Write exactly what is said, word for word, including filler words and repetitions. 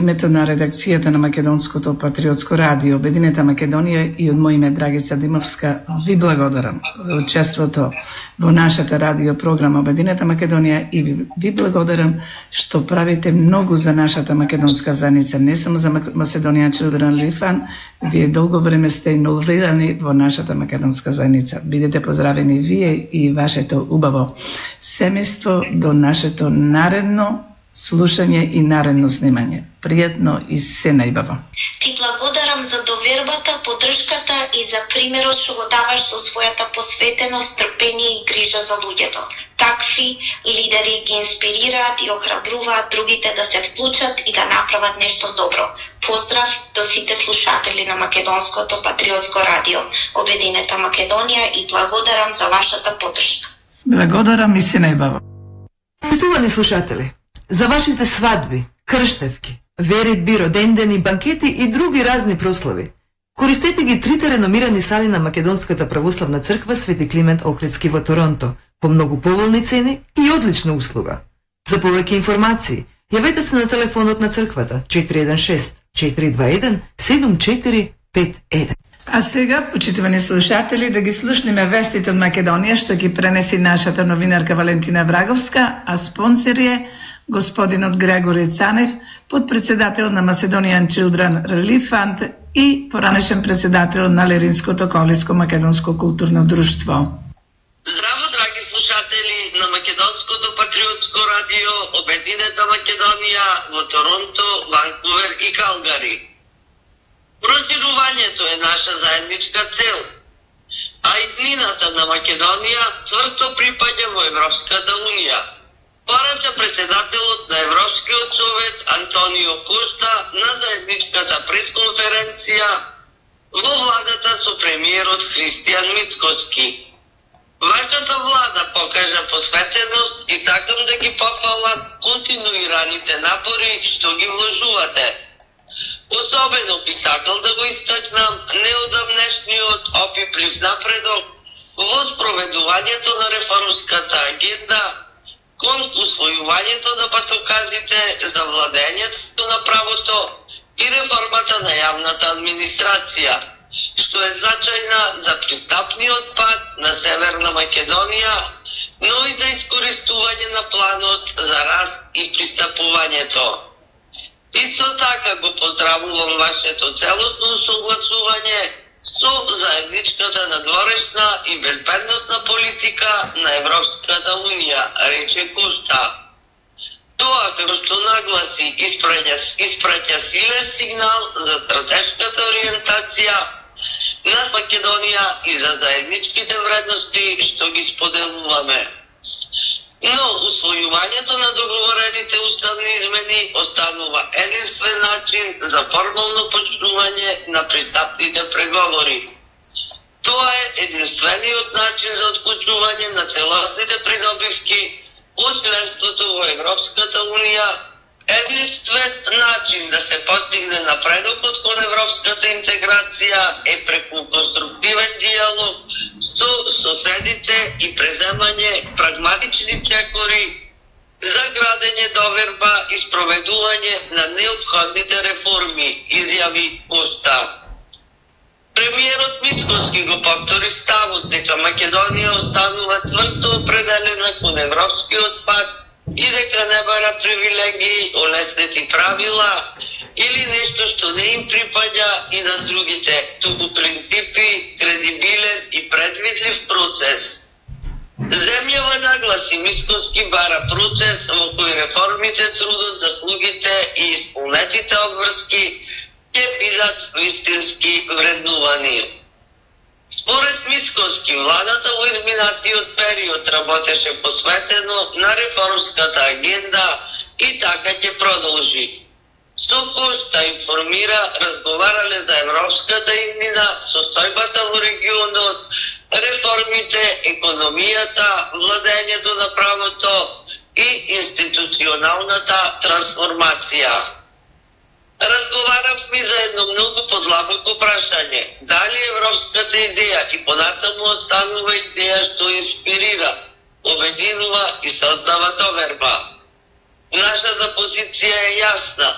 Името на редакцијата на Македонското патриотско радио Обединета Македонија и од мој име Драгица Димовска ви благодарам за учеството во нашата радио програма Обединета Македонија и ви, ви благодарам што правите многу за нашата македонска заедница, не само за Macedonian Children Relief Fund. Вие долго време сте инволвирани во нашата македонска заедница. Бидете поздравени вие и вашето убаво семејство до нашето наредно слушање и наредно снимање. Пријатно и се најбаво. Ти благодарам за довербата, поддршката и за примерот што го даваш со својата посветеност, трпение и грижа за луѓето. Такви лидери ги инспирираат и охрабруваат другите да се вклучат и да направат нешто добро. Поздрав до сите слушатели на Македонското патриотско радио Обединета Македонија и благодарам за вашата поддршка. Благодарам и се најбаво. Почитувани слушатели, за вашите свадби, крштевки, веридби, родендени, банкети и други разни прослави, користете ги трите реномирани сали на Македонската православна црква Свети Климент Охридски во Торонто по многу поволни цени и одлична услуга. За повеќе информации, јавете се на телефонот на црквата четири еден шест четири два еден седум четири пет еден. А сега, почитувани слушатели, да ги слушнеме вестите од Македонија што ги пренеси нашата новинарка Валентина Враговска, а спонсор е господинот Грегори Цанев, подпредседател на Macedonian Children Relief Fund и поранешен председател на Леринското колиско македонско културно друштво. Здраво, драги слушатели на Македонското патриотско радио Обединета Македонија во Торонто, Ванкувер и Калгари. Проширувањето е наша заедничка цел, а иднината на Македонија цврсто припаѓа во Европската унија. Порача председателот на Европскиот совет Антонио Кошта на заедничката пресконференција во владата со премиерот Христијан Мицкоски. Вашата влада покажа посветеност и сакам да ги пофалам континуираните напори што ги вложувате. Особено би сакал да го истакнам неодамнешниот опиплив напредок во спроведувањето на реформската агенда кон усвојувањето на патоказите за владењето на правото и реформата на јавната администрација, што е значајна за пристапниот пат на Северна Македонија, но и за искористување на планот за раст и пристапувањето. Исто така го поздравувам вашето целосно согласување со заедничката надворешна и безбедносна политика на Европската унија, рече Кошта. Тоа како што нагласи испраќа, испраќа силен сигнал за стратешката ориентација на Македонија и за заедничките вредности што ги споделуваме. Но усвојувањето на договорените уставни измени останува единствен начин за формално почнување на пристапните преговори. Тоа е единствениот начин за отклучување на целосните придобивки од членството во Европската унија, единствен начин да се постигне напредокот кон европската интеграција е преку конструктивен диалог со соседите и преземање прагматични чекори за градење доверба и спроведување на неопходните реформи, изјави Кошта. Премиерот Мицкоски го повтори ставот дека Македонија останува цврсто определена кон европскиот пат и дека не бара привилегии, олеснети правила или нешто што не им припаѓа и на другите, туку принципи, кредибилен и предвидлив процес. Земјава нагласи Мицкоски бара процес во кој реформите, трудот, заслугите и исполнетите обврски ќе бидат вистински вреднувани. Според Мицкоски, владата во изминатиот период работеше посветено на реформската агенда и така ќе продолжи. Со Кошта информира, разговарале за европската иднина, состојбата во регионот, реформите, економијата, владењето на правото и институционалната трансформација. Разговаравме за едно многу подлабоко прашање. Дали европската идеја и понатаму останува идеја што инспирира, обединува и создава доверба? Нашата позиција е јасна.